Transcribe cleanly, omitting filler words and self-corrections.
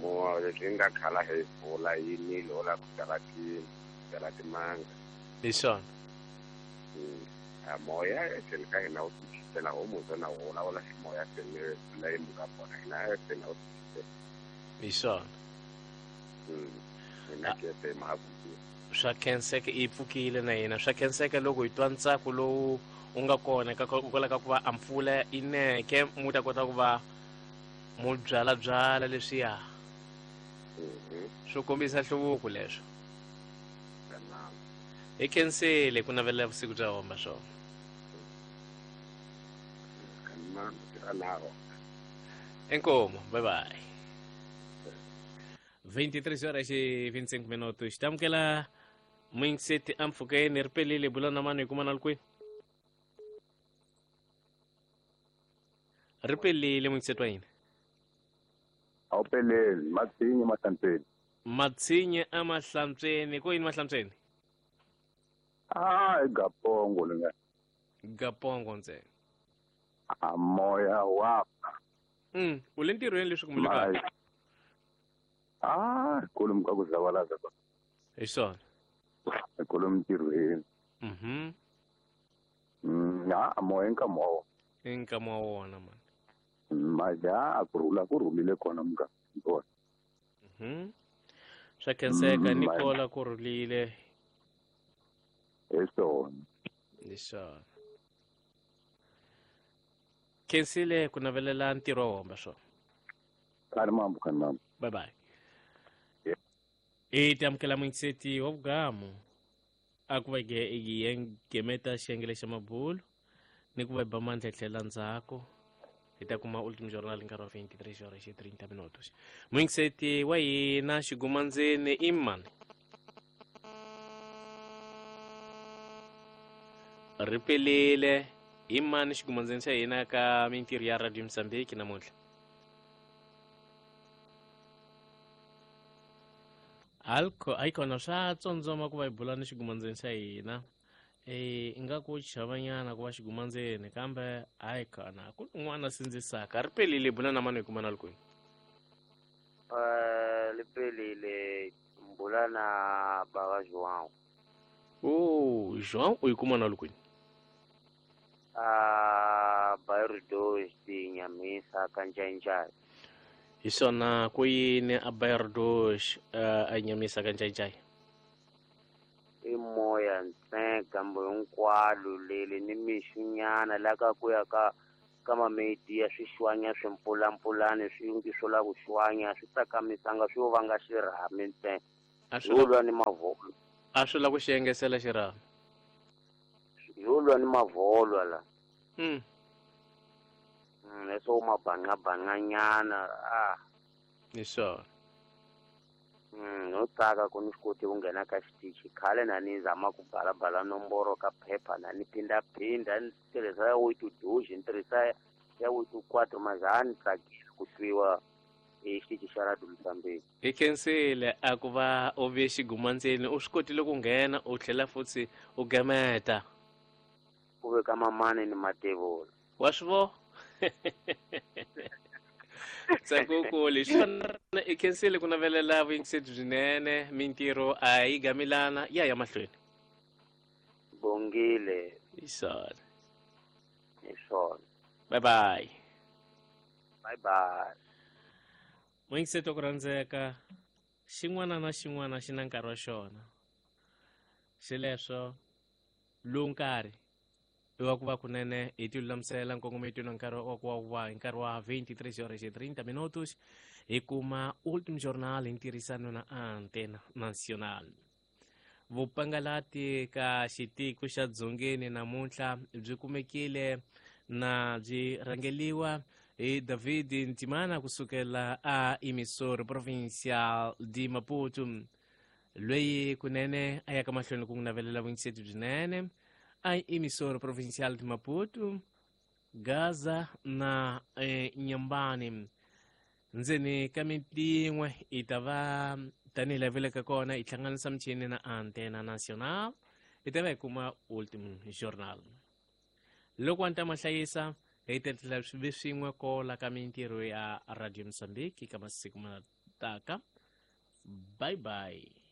Moya leswi nga khala hi mpfula yi nile u lava ku byala byala timanga. Hi swona. A moya etlhelo ka hina wu tichitela homu na wu vulavula ximoya se ni mpfula yi muka kona hina etlhelo wu tichitela. Hi swona. Hina ke mahaku. Swa khenseka i pfukile na yena swa khenseka loko hi twa ntsako lowu u nga kona ka kwala ka ku va a mpfula yi neke mu ta kota ku va mu byalabyala leswiya swo kombisa nhluvuko leswo. Hi khensile ku navelela vusiku bya homba swona. Inkomu, bye bye. 23 horas e 25 minutos. Tamukela muyingiseti ampfhukeni ri pelile bula na mani hi kuma na le kwihi? Ri pelile muyingiseti wa hina. A wu peleli, Matsinye Mahlantsweni. Matsinye a Mahlantsweni, ko yini Mahlantsweni? Ah, i Gapongo le nga. Gapongo ntsena. A moya wa ba. U le ntirhweni leswi kumbe le kaya? Ah, kolomu ka ku zavalaza ka. Hi swona. Kolomu ntirhweni. Ha, moya nkama wa wona. I nkama wa wona man. Maja a ku rhula ku rhulile kona muganga kona. Swa khenseka ni kola ku rhulile. Hi swona. Hi swona. Khensile ku navelela ntirho wa homba swona. Khani mambo, khani mambo. Bye bye. I tamukela muyingiseti wa vugamu a ku va gemeta xiyenge xa mabulu ni ku va ba mandla tlhela ndzhaku hi ta kuma ultimate journal nkarhi wa 23 horas e 30 minutos. Muyingiseti wa hina xigumandzeni i mani? Ri pelile i mani xigumandzeni xa hina ka mintirho ya Radio Mozambique namuntlha? Alco ayikona swa tsondzoma ku va hi bula ni xigumandzeni xa hina. Ingaku chavanyana ku va xigumandzeni kambe hayi khona ku un'wana sindzisaka. Ri pelile bula na mani hi kuma na le kwihi? Li pelile mbula na baba João. Oh, João u yi kuma na le kwihi? Bairro 2 de Inhamisa, Kanjainjai. Hi swona ku yini a Bairro 2 a Inhamisa Kanjainjai? I moya ntsena gambo hinkwalo leli ni mixunyana la ka ku ya ka ka mameti ya swixwanya swimpfulampfulani swi ngi swo la ku xwanya swi tsakamisanga swi yo vanga xirhami ntsena. Yo lwa ni mavholo. A swi la ku xi engesela xirhami. Yo lwa ni mavholo la. Leswo mabanqabanqanyana a. Hi swona. No tsaka ku ni swi koti ku nghena ka xitichi khale na ni zama ku balabala nomboro ka phepha na ni phindaphinda ni tirhisa ya oito dois ni tirhisa ya oito quatro mas a ni tsakeli ku twiwa hi xitichi xa Radio Mozambique. Hi khensile a ku va u ve xigumandzeni u swi kotile ku nghena u tlhela futhi u gemeta. Ku veka mamani ni matevula. Wa swi vo? Ntsako leswi i khensile ku navelela vuyingiseti byinene mintirho a yi gamilana ya ya mahlweni. Bongile. Hi swona. Hi swona. Bye bye. Bye bye. Muyingiseti wa ku rhandzeka xin'wana na xin'wana xi na nkarhi wa xona. Xileswo lowu nkarhi i wa ku va kunene hi ti lulamisela nkongometo na nkarhi wa ku va hi nkarhi wa 23 horas e 30 minutos hi kuma Ultim Journal hi ntirhisano na Antena Nacional. Vupangalati ka xitiko xa Dzongeni namuntlha byi kumekile na byi rhangeliwa hi David Ntimana kusukela a Emissor Provincial de Maputo. Loyi kunene a yaka mahlweni ku n'wi navelela vuyingiseti byinene a Emissor Provincial de Maputo, Gaza na Nyambani. Ndzeni ka mintin'we i ta va tanihi laha vileka kona i hlanganisa michini na Antena Nacional i ta va hi kuma Ultim Journal. Loko a ni ta ma hlayisa hi ta tlhela swi ve swin'we kola ka mintirho ya Radio Mozambique ka masiku ma ta. taka. Bye bye.